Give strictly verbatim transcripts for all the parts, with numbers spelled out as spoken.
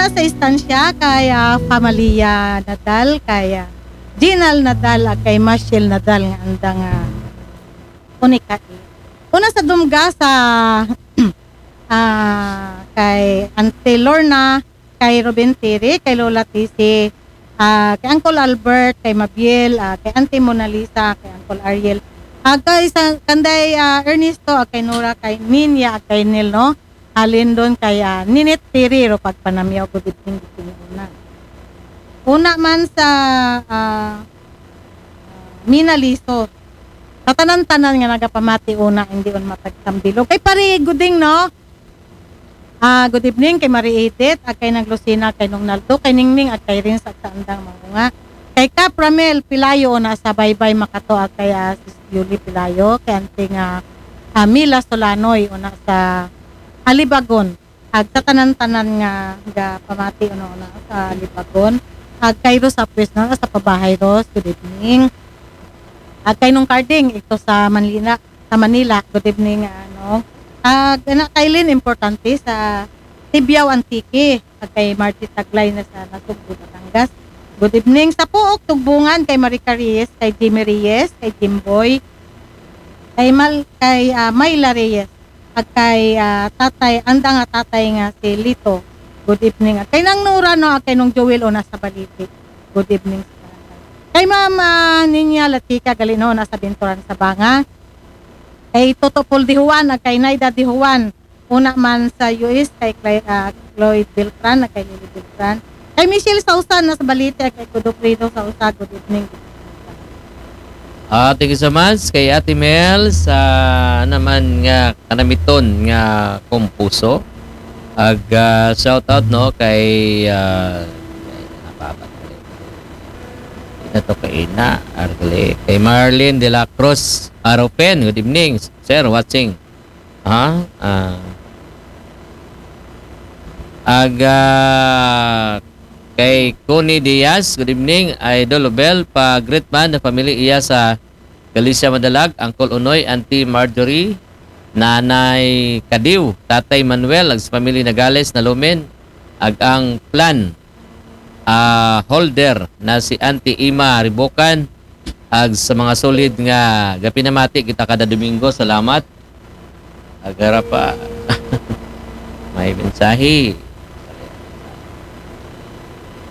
sa istansya kay, ah, Pamalia Nadal, kay, ah, Ginal Nadal, ag kay Mashil Nadal nga andang, ah, unika. Una sa dumga sa, ah, kay Auntie Lorna, kay Ruben Tiri, kay Lola Tisi, ah, kay Uncle Albert, kay Mabiel, ah, kay Auntie Mona Lisa, kay Uncle Ariel. Ah, kay sa, kanday, ah, Ernesto, ah, kay Nora, kay Ninya, ah, kay Nil, no? Halin doon kay, ah, Ninit Tiri, ro pagpanamyaw, good evening, good evening, una. Una man sa, ah, Mina Liso. Sa tanan-tanan nga nagapamati una, hindi on matagsambilog. Kay pare Guding, no? Ah, good evening kay Marie Edith, ag kay Nang Lucina, kay Nong Naldo, kay Ningning, ag kay Rins, ag sa andang mga. Kay Kap Ramel Pilayo, una sa Baybay Makato, ag kay, ah, Sis Yuli Pilayo, kay Auntie nga, ah, Mila Solanoy, una sa Alibagon. Ag sa tanan-tanan nga gapamati, una, una sa Alibagon. Ag kay Rose Apres, no, sa Pabahay Rose, good evening. Ag kay Nong Carding, ito sa Manila, sa Manila, good evening, ano. Ag ana kay Lynn Importante sa Tibiao, Antique. Ag kay Margie Taglay na sa Nasugbu, Batangas, good evening. Sa Puok, Tugbungan, kay Marica Reyes, kay Jimmy Reyes, kay Jimboy, kay Mal, kay, ah, Myla Reyes, ag kay, ah, tatay, andang nga tatay nga si Lito, good evening. Ag kay Nang Nora, no, ag kay Nong Joel, una sa Baliti, good evening. Kay Ma'am, ah, Ninya Latika, gali, no, una sa Binturan, Sabanga. Kay Toto Paul Dijuan, ag kay Naida Dijuan, una man sa U S, kay Cla-, ah, Cloyd Beltran, ag kay Lily Beltran. Kay Michelle Sausa, na sa Balite, ag kay Godofredo Sausa, good evening. Ah, thank you so much kay Ate Mel sa naman nga kanamiton nga kompuso. Ag, ah, shout out, no, kay, ah, kay, napabat ko rin. Ina to kay Ina, Argle. Kay Marlene de la Cruz Aropen, good evening, sir, watching. Ha? Ah. Ag, ah, kay Connie Diaz, good evening, Idol Obel, pa-greet man the family iya sa Galicia Madalag, Uncle Unoy, Auntie Marjorie, Nanay Kadiw, Tatay Manuel, ag sa family Nagales, Nalumen, ag ang plan, ah, holder na si Auntie Ima Ribokan, ag sa mga solid nga gapinamati kita kada Domingo, salamat. Agara pa. May mensahe.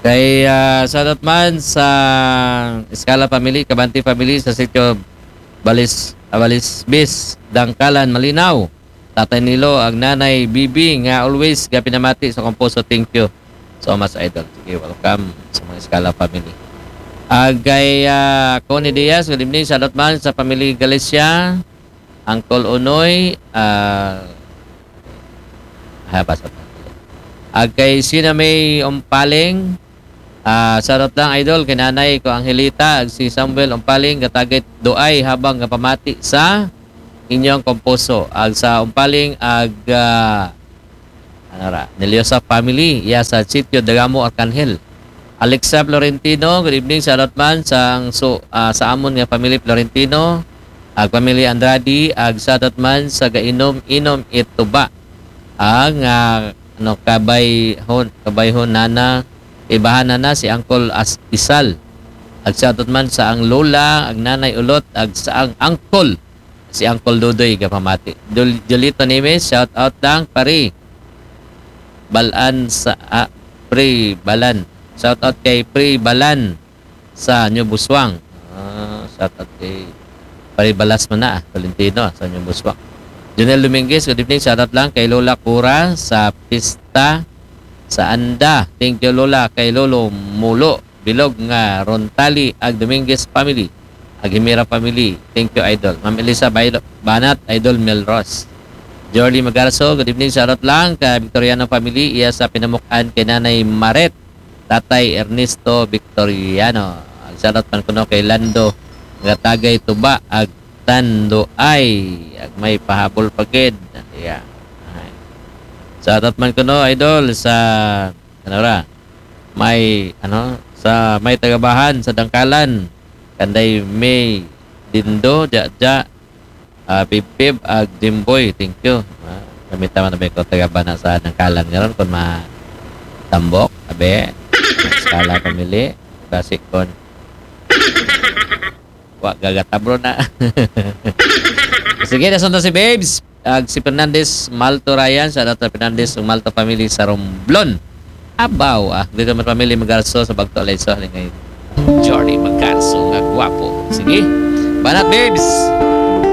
Kay, ah, shout out man sa Escala family, Kabante family sa sitio Balis, ah, Balisbis, Dangkalan, Malinaw. Tatay Nilo, ag Nanay Bibi nga always gapinamati sa kompuso. Thank you so much, Idol. Sige, welcome sa mga Escala family. Ag kay, ah, Connie Diaz, good evening. Shout out man sa family Galicia, Uncle Unoy, ah, ah, basa pa. Ag kay Sina May Umpaling, ah, shout out lang, Idol, kay Nanay ko Angelita, ag si Samuel Umpaling, gatagit doay habang gapamati sa inyong kompuso. Ag sa Umpaling, ag, ah, ano ra, Neliosa family, iya sa Sitio Dagamo, Arcangel. Alexa Florentino, good evening, shout out man sa, ang su-, ah, sa amon nga family Florentino, ag family Andrade, ag shout out man sa gainom-inom ituba. Ang, ah, ano, kabayhon, kabayhon nana, ibahan nana si Uncle As-, Isal. Ag shout out man sa ang lola, ag nanay Ulot, ag sa ang uncle, si Uncle Dodoy gapamati. Jul-, Julito Nimes, shout out lang, pare. Balan sa, ah, Pre Balan. Shout out kay Pre Balan sa New Buswang. Ah, shout out kay Pare Balas man na, ah, Tolentino, ah, sa New Buswang. Junel Dominguez, good evening. Shout out lang kay Lola Cora sa pista sa Anda. Thank you, Lola, kay Lolo Mulo Bilog nga Rontali ag Dominguez family. Ag Himira family. Thank you, Idol. Ma'am Elisa Bailo-, Banat, Idol Melros. Jorly Magarso, good evening. Shout out lang kay Victoriano family. Iya sa pinamukan kay Nanay Maret, Tatay Ernesto Victoriano. Ag shout out man kuno kay Lando, nga tagay Tuba, ag Tanduay. Ag may pahabol pa gid. Yeah. Ay. Shout out man kuno, Idol, sa, ano ra, may, ano, sa may tagabahan sa Dangkalan, kanday May Dindo, ja, ja, ah, Pipip, ag Jimboy, thank you. Ah, namita man na ba ko tagabahan sa Dangkalan ngaron, kung ma-, Tambok, abi. Skala family. Basi kon wa gagatabro na. Sige, nasunod si Babes. Ag si Fernandez Malto Ryan, shout out sa Fernandez ug Malto family sa Romblon. Abaw, ah, dito man family Magarso sa Bagto Alayso, halingay Jordy Magarso nga gwapo. Sige, banat Babes.